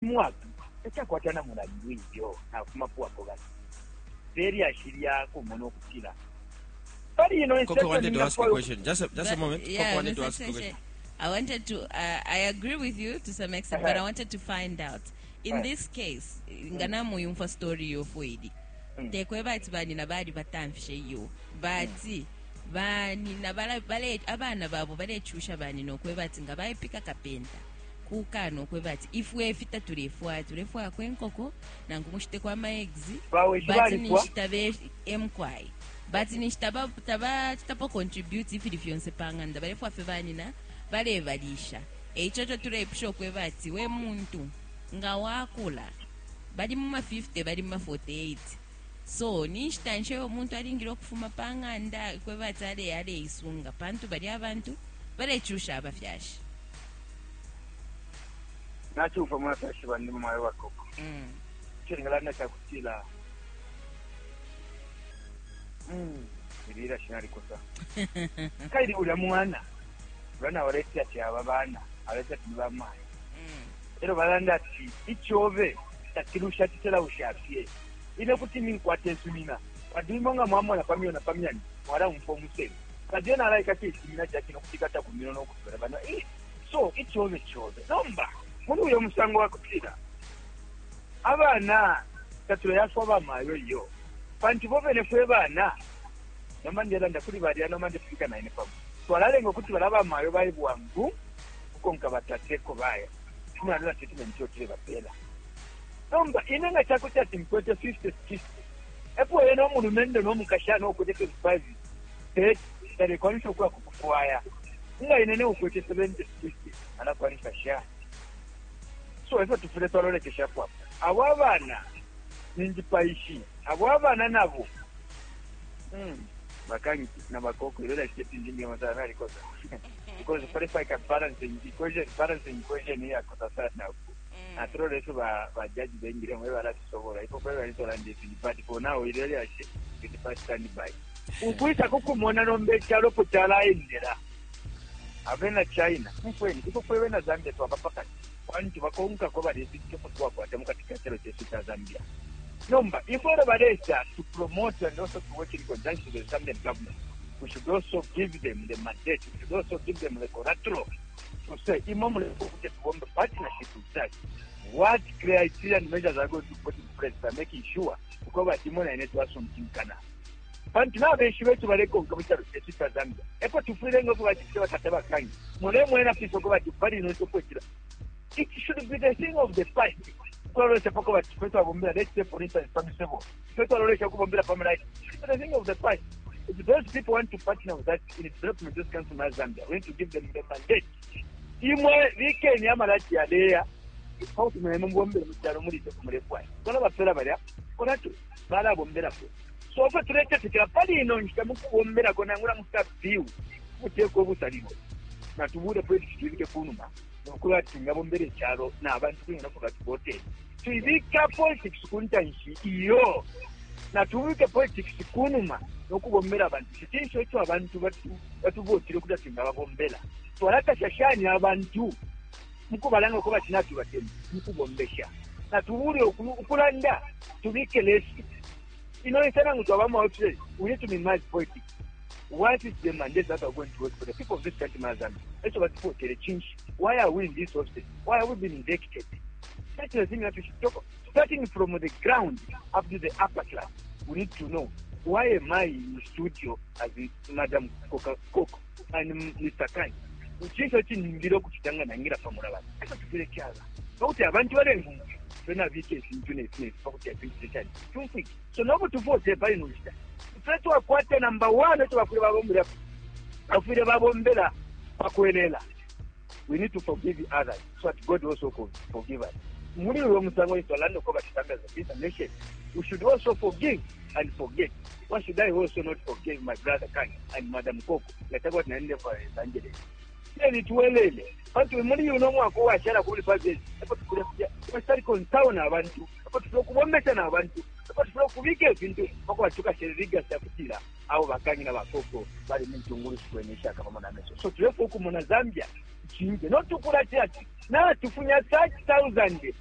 Mwaka tacakwata na mulandu iyo nafumapo apo bali pe lyashi lya kumona ukutila pali ino Coco wanted to ask a question. Just a moment. Yeah, Coco wanted to Mr. ask a Cheshe, question. I wanted to, I agree with you to some extent, but I wanted to find out. In this case, nga namuyumfwa story yofoidi. Tekweba ati banina bali batamfishe iyo. But banina bala, bale, abana babo balechusha banina okweba ati nga baipika kapenta. Kukana okweba ati ifwe ifi tatulefwaya, tulefwayako enkoko nangu mushiteko ama eggs. Bawishi But balipwa. ninshi tabe emkwai. But ninshi taba taba chitapo contribute ifili fyonse pa ng'anda balefwa fye banina balebalisha. Eico ico tuleipusha okweba ati we muntu nga wakula bali mu ma 50 bali mu ma 48. So ninshi tanshe uyo muntu alingile ukufuma pa ng'anda kweba ati ale aleisunga pantu bali abantu balechusha abafyashi. Nachumfwa mwafyashi bandi mumwayo wa Koko. Ico ningalanda cakutila ili ilyashi nalikosa. Kaili ulya mwana ulya nawaleti ati aba bana aleti ati ni bamayo. Elyo balanda ati icobe takilusha citelausha fye. Ine kuti ninkwata isumina. Pantu imwe nga mwamona pa myona pa myani mwalaumfwa umuselu. Pantu ena alaikata isimina cakino kuti kata ku mino no kutwela bana. So icobe cobe. Nomba muri uyo musango wa kutila abana tatuleyafwa bamayo iyo. Pantu bo bene fwe bana nomba ndelanda kuli balya nomba ndefika na ine pamo. Twalalenga ukuti bala bamayo baye bwangu kukonka batateko baya. Tumwana na treatment yo tulebapela. Nomba ine nga chakuti ati nkwete 50 60. Epo ena omulumendo n'omukashana okwete 25 30 talekwanisha okuya kukufwaya. Nga ine ne ukwete 70 60 alakwanisha shani. So efyo tufile twalolekeshapo apo. Abo abana ninjipaishi. Abo abana nabo. Bakangi na bakoko ile shit ndingi masana nalikosa. Because if I can balance equation, balancing equation ya kosa sana. Naturally so ba ba judge bengire mwe balatusobola. Ipo kwa bali ndisi but for now ile ya shit it first stand by. Ukwisa kukumona nombe chalo po chalaendera. Abena China, mfweni, ipo kwa na Zambia twabapaka. Kwantu bakonka ko bali sityo twakwata mukati ka chalo chesu cha Zambia. Nomba, ifwe balesa to promote and also to work in conjunction with the Zambian government. We should also give them the mandate. We should also give them the collateral to say, imwe mulekuti tubombe partnership with us. What criteria and measures are going to put in place by making sure kuko batimona ine twasuntinkana. Pantu n'abenshi betu balekonka mu kyalo kyesu kya Zambia. Epo tufire ngo kubati batata bakanyi. Mule mwena piso kubati pali no sokwekira. It should be the thing of the past. Twalolesha pako bati kwetu abombera, let's say for instance pamisebo. Kwetu alolesha kubombera pamela. It should be the thing of the past. If those people want to partner with us in development this country of Zambia, we need to give them the mandate. Imwe weekend yamalaki yaleya. Pauti mwe mbombere mu kyalo muri cyo kumurefwa. Kola bapera balya. Kola tu bala bombera ko. So ofe tuletetekera pali ino nshita mukubombera ko nangula musta view. Muteko obusaliwo. Natubule politics tubike kunuma. Nokuba tingabombere ekyalo n'abantu kuyina kuba tubote. Tuibika politics kuntanshi iyo. Natubike politics kunuma nokubombera abantu. Chitinso ekyo abantu batubotire kuda tingababombera. Twalakasha shani abantu mukubalanga kuba tinatubatemu mukubombesha. Natubule ukulanda tubike lesi. Ino insana ngu twabama offices, we need to minimize politics. What is the mandate that are going to work for the people of this country, Zambia? Let's about change. Why are we in this office? Why are we being elected? That's the thing that we should talk. Starting from the ground up to the upper class, we need to know why am I in studio as Madam Coca Coco and Mr. Kai? Uchinso chiningiro kuchitanga nangira pamurava. Asa tufire kyala. Nokuti abantu balengu fena vike sintu ne sine pakuti apintu chani. Tumfiki. So nobu tuvote pali nushita. Ffe twakwata number 1 tubafire babombera. Bafire babombera bakwelela. We need to forgive others so that God also could forgive us. Muri uyo musango itwalando ko batitanga za nation. We should also forgive and forget. Why should I also not forgive my brother Kanye and Madam Coco? Nataka tunaende kwa Evangelist. Then tuwelele. Pantu muri uno mwaka washara kuri 5 years. Epo tukule kwa concern abantu. Epo tukule kubombesha na abantu. Epo tukule kubika ebintu pako batuka sheriga sakutira abo bakanyi na bakoko bali mintungulu sikwenesha kama na meso. So tulefu huku muna Zambia. Chinje. Not tukula church. Na tufunya 30,000.